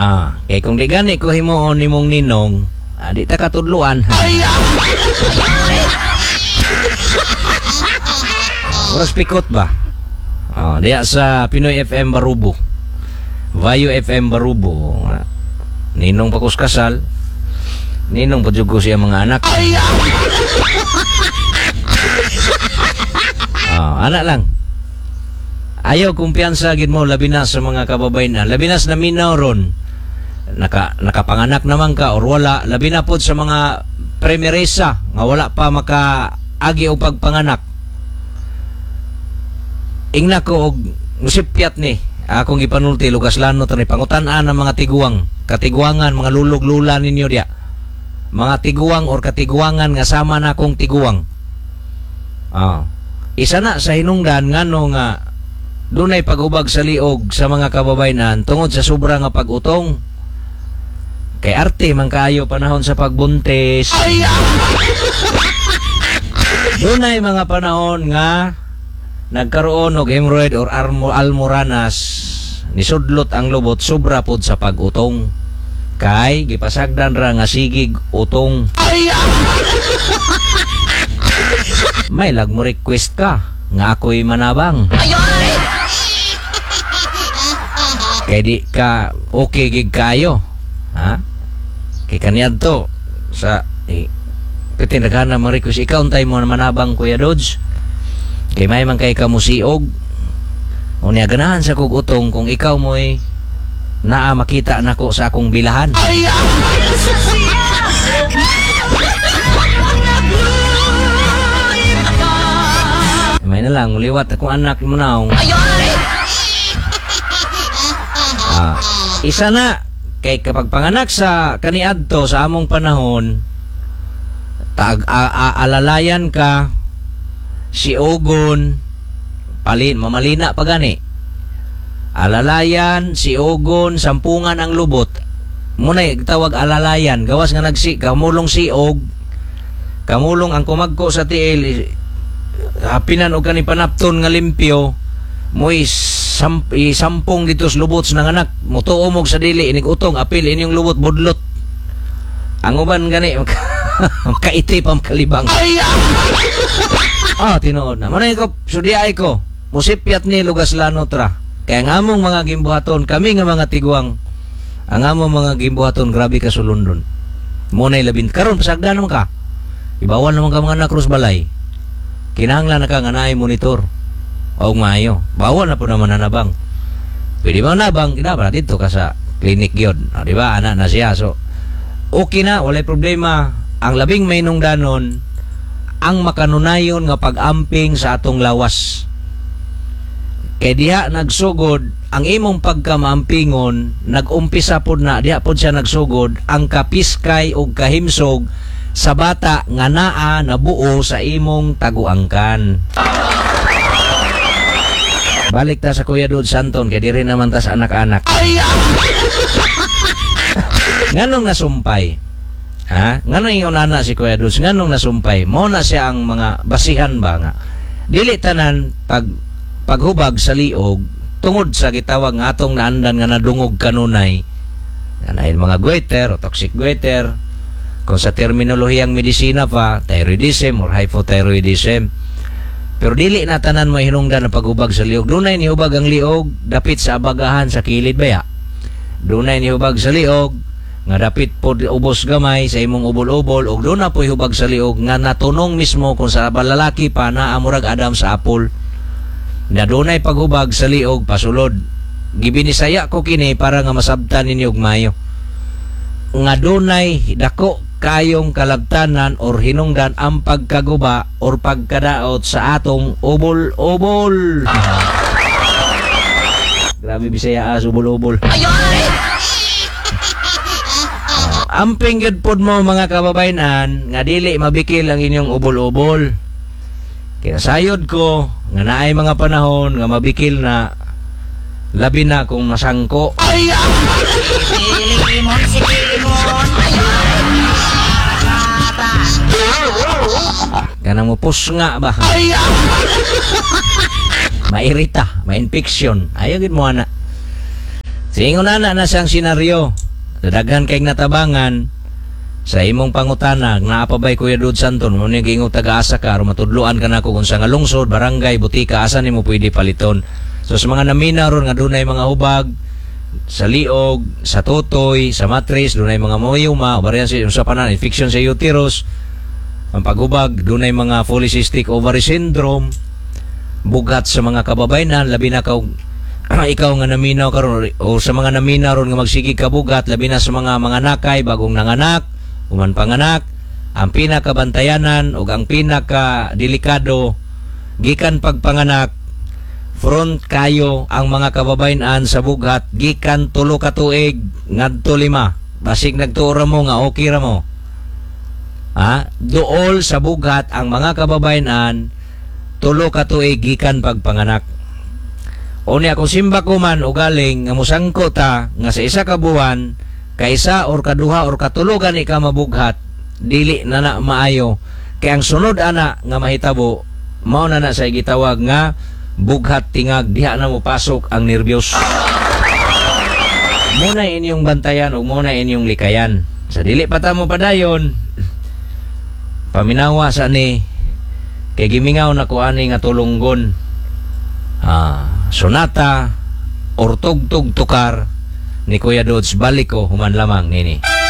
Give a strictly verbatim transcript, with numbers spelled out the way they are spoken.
Ah, kay kung di gani ko himuon nimong ninong, ah, di ta katudluan. Oras pikot ba? Ah, diya sa Pinoy F M Barubo. Vayo F M Barubo. Ah, ninong pa kus kasal. Ninong pa jud ko siya mga anak. Ah, anak lang. Ayaw kumpiyansa gid mo labi na sa mga kababayen. Labi na sa naminaw ron. Naka, nakapanganak naman ka or wala, labi na pod sa mga primeresa nga wala pa makaagi og pagpanganak. Ingna ko og musipyat ni akong gipanulti lugas lano ni pangutan-an ang mga tiguang, katiguangan, mga lulog-lula ninyo diya. Mga tiguang or katiguangan nga sama na akong tiguang. Ah. Isa na sa hinungdan ngano nga dunay paghubag sa liog sa mga kababayenan tungod sa sobra nga pag-utong. Kay arte man kaayo panahon sa pagbuntis. Dunay mga panahon nga nagkaroon og hemorrhoid or armo, almoranas, nisudlot ang lubot sobra pod sa pag-utong. Kay gipasagdan ra nga sigig utong. May lag mo request ka nga ako'y manabang. Kay di ka okay gig kayo. Ha? Kay kaniadto sa eh, piti nagana mo request ikaw untay mo na manabang Kuya Dodge. Kay may man kay kamusiog. Unya ganahan sa kog utong kung ikaw mo'y naa makita nako sa akong bilahan. May na lang liwat akong anak mo naong. Ah, isa na kay kapag panganak sa kaniadto sa among panahon tag a, a, alalayan ka si Ogon palin mamalina pa gani. Alalayan si Ogon sampungan ang lubot. Munay tawag alalayan gawas nga nagsi kamulong siog kamulong ang kumagko sa tiil hapinan og kani panapton nga limpyo mo'y sam, isampong dito sa lubot sa nanganak mutuo mog sa dili inig utong apil inyong lubot budlot ang uban gani makaiti pa makalibang. Ah, tinuod na manay ko sudiay ko musipyat ni lugas lano tra kaya ang among mga gimbuhaton kami nga mga tiguang ang among mga gimbuhaton grabe ka sulundon munay labin karon pasagdan naman ka ibawal naman ka mga anak krus balay kinahanglan na ka nga naay monitor og maayo. Bawal na po naman nanabang. Pwede ba nabang? Kinabang dito ka sa clinic gyud. O, di ba? Ana na siya. So, okay na, walay problema. Ang labing may nungdanon, ang makanunayon nga pag-amping sa atong lawas. Kay diha nagsugod, ang imong pagkamaampingon, nag-umpisa pod na, diha pod siya nagsugod, ang kapiskay og kahimsog sa bata nga naa nabuo sa imong taguangkan. Balik ta sa Kuya Dod Santon kay diri naman ta sa anak-anak. Nganong nasumpay? Ha? Nganong ingon ana si Kuya Dod? Nganong nasumpay? Mao na siya ang mga basihan ba nga. Dili tanan pag paghubag sa liog tungod sa gitawag nga atong naandan nga nadungog kanunay. Kanahin mga goiter o toxic goiter. Kung sa terminolohiyang medisina pa, thyroidism or hypothyroidism. Pero dili na tanan mo hinungdan ang paghubag sa liog. Dunay nihubag ang liog, dapit sa abagahan sa kilid baya. Dunay nihubag sa liog, nga dapit po ubos gamay sa imong ubol-ubol, ug doon na po hubag sa liog, nga natunong mismo kung sa lalaki pa na amurag Adam sa apple. Na dunay paghubag sa liog, pasulod. Gibinisaya ko kini para nga masabtan ninyo og mayo. Nga dunay dako kayong kalabtanan or hinungdan ang pagkaguba or pagkadaot sa atong ubol-ubol. Grabe Bisaya as ubol-ubol. Amping gyud pod mo mga kababayenan nga dili mabikil ang inyong ubol-ubol. Kaya sayod ko nga naay mga panahon nga mabikil na labi na kung masangko. Kanang mo pusnga ba? Mairita, ma-infection. Ayaw gid mo ana. Ingon ana na siyang senaryo. Daghan kay natabangan sa imong pangutana, naa pa bay, Kuya Dod Santon, mo ni giingong taga-asa ka aron matudloan ka nako kung sa nga lungsod, barangay, butika, asa nimo pwede paliton. So sa mga naminaw ron nga dunay mga hubag sa liog, sa tutoy, sa matris, dunay mga myoma, ovarian cyst, usa pa na infection sa uterus, ang paghubag, dunay mga polycystic ovary syndrome, bughat sa mga kababayenan, labi na ka ikaw nga naminaw karon o sa mga naminaw ron nga magsige kabugat, labi na sa mga mga nakay, bagong nanganak, human panganak, ang pinakabantayanan ug ang pinaka delikado gikan pagpanganak, front kayo ang mga kababayenan sa bughat gikan tulo ka tuig ngadto lima. Basig nagtuo ra mo nga okay ra mo. Ha, duol sa bughat ang mga kababayenan tulo ka tuig gikan pagpanganak. Unya kung simba ko man o galing nga musangko ta nga sa isa ka buwan kaisa or kaduha or katulo gani ka mabughat, dili na na maayo kay ang sunod ana nga mahitabo mao na na sa gitawag nga bughat tingag, diha na mo pasok ang nervyos. Muna inyong bantayan ug muna inyong likayan. Sa dili pa ta mo padayon, paminawa sa ni kay gimingaw na ko ani nga tulunggon, ah, sonata or tugtog tukar ni Kuya Dodds. Balik ko human lamang nini.